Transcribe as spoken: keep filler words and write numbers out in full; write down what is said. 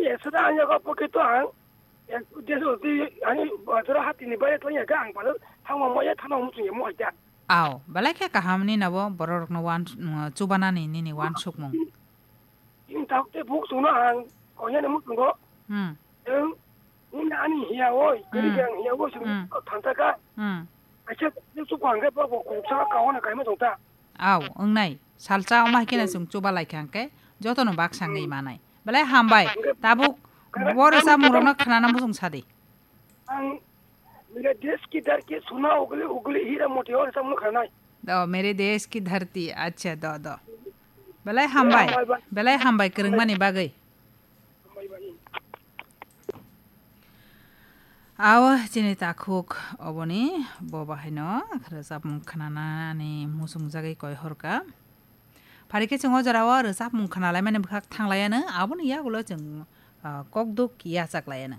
Esada ang yago poke to ang. Ek deso ti ani bajara hati ni bayat lanya ga ang palo thangma maya thangma muchung ya mo aja. Aw, belai khe kaham ni nabo borok no wan, mm, chubana ni nini wan sukmung. Ini tak te buk suna ang konya ni muchung go. Hmm. Eng ini ani hiya oi kiri Hmm. Yang hiya oi sung Hmm. Thanta ka. Hmm. Acha ni su kwang ke pa bo kuk sa ka wana kai ma tong ta. Aw, wngnai. Salsa wngma hai kheno chwng chuba lai kha hwnkhe jotono baksa wngwi manai. Belai hambai. Tabuk bo rwchapmungrokno khwnana muchung sadi. Ang mere desh ki dharti suna ugli ugli hira moti o rwchapmung khwnanai. Do, mere desh ki dharti. Acha, do, do. Belai hambai. Belai hambai kwrwngmani bagwi. Aw, chini takhuk oboni bo bahaino rwchapmung khwnanani muchungjagwi koi horka. Phari khe chwng o jorao rwchapmung khwnalaimani bwkhak thanglaiano, aboni yagulo chwng, ah, kokduk yachaklaiano.